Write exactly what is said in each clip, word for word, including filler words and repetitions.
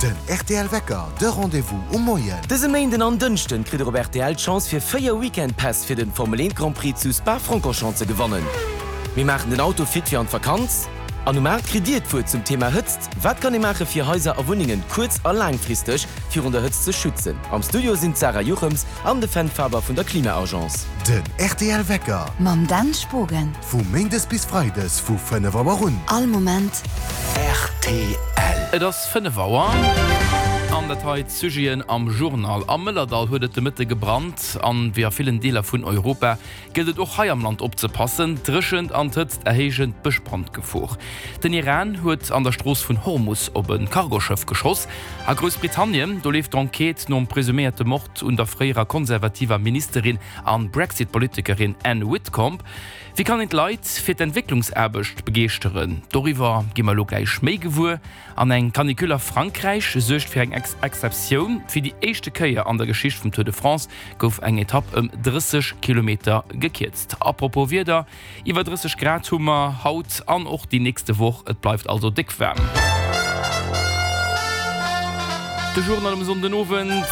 Den rtl Wecker, de Rendez-vous um Moien. Dëse Méinden an Dënschden kritt der op rtl d'Chance fir véier Weekend-Päss fir den Formel eent Grand Prix zu Spa-Francorchamps ze gewannen. Mir maachen den Auto fit fir an d'Vakanz an um aacht kritt dir d'Wuert zum Thema Hëtzt. Wat kann ee maache fir Haiser a Wunnengen kuerz a laangfristeg virun der Hëtzt ze schützen? Am Studio sinn d'Sarah Juchems an de Fenn Faber vun der Klima-Agence. Den rtl Wecker. Mam Dan Spogen. Vu Méindes bis Freides vu fënnef Auer un. All Moment. Rtl. Et ass fënnef Auer an dat hei d'Sujeten am Journal. Am Mëllerdall huet et de Mëtte gebrannt an wéi a villen Deeler vun Europa gëllt et och hei am Land opzepassen. D'Dréchent an d'Hëtzt erhéijen d'Bëschbrandgefor. Den Iran huet an der Strooss vun Hormus op e Cargoschëff geschoss. A Groussbritannien, do leeft d'Enquête nom presuméierte Mord un der fréierer konservativer Ministerin an Brexit-Politikerin Anne Widdecombe. Wéi kann een d'Leit fir d'Entwécklungsaarbecht begeeschteren? Doriwwer gi mer elo gläich méi gewuer. An eng Canicule a Frankräich suergt fir eng Exceptioun, Fir déi éischte Kéier an der Geschicht vum Tour de France gouf eng Etapp ëm drësseg Kilometer gekierzt. Apropos Wieder, Iwwer drësseg Grad hu mer haut an och déi nächste Woch. Et bleift also déck waarm. De Journal um Sonndenowend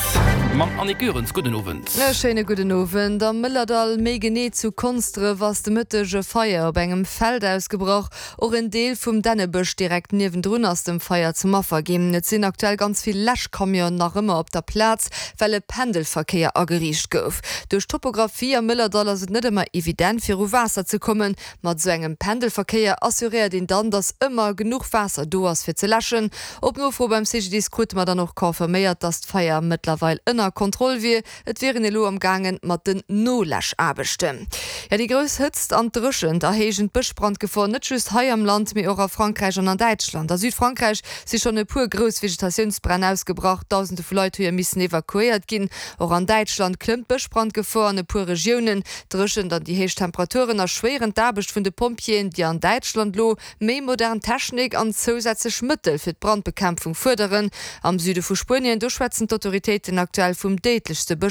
mam Annick Goerens. Gudden Owend. E schéine gudden Owend. Am Mëllerdall, méi genee zu Konsdref, ass de Mëtteg e Feier op engem Feld ausgebrach. Och en Deel vum Dännebësch direkt niewendrun ass dem Feier zum Affer ginn. Et sinn aktuell ganz vill Läschcamionen nach ëmmer op der Plaz, well e Pendelverkéier ageriicht gouf. Duerch d'Topographie am Mëllerdall ass et net ëmmer evident fir u Waasser ze kommen. Mat esou engem Pendelverkéier assuréiert een dann, dass ëmmer genuch Waasser do ass fir ze läschen. Op Nofro beim C G D I S krute mer dann och confirméiert, dass d'Feier mëttlerweil ënner Kontroll wier. Et wier een elo am gaangen mat den Noläschaarbechten. Jo, déi grouss Hëtzt an d'Dréchent erhéijen d'Bëschbrandgefor net just hei am Land, mee och a Frankräich an an Däitschland. A Südfrankräich si schonn e puer grouss Vegetatiounsbränn ausgebrach, Dausende vu Leit hu jo missen evakuéiert ginn. Och an Däitschland klëmmt d'Bëschbrandgefor an e puer Regiounen. D'Dréchent an déi héich Temperaturen erschwéieren d'Aarbecht vun de Pompjeeën, déi an Däitschland elo méi modern Technik an zousätzlech Mëttel fir d'Brandbekämpfung fuerderen. Am Süde vu Spuenien, do schwätzen d'Autoritéiten aktuell vum déidlechste Bëschbrand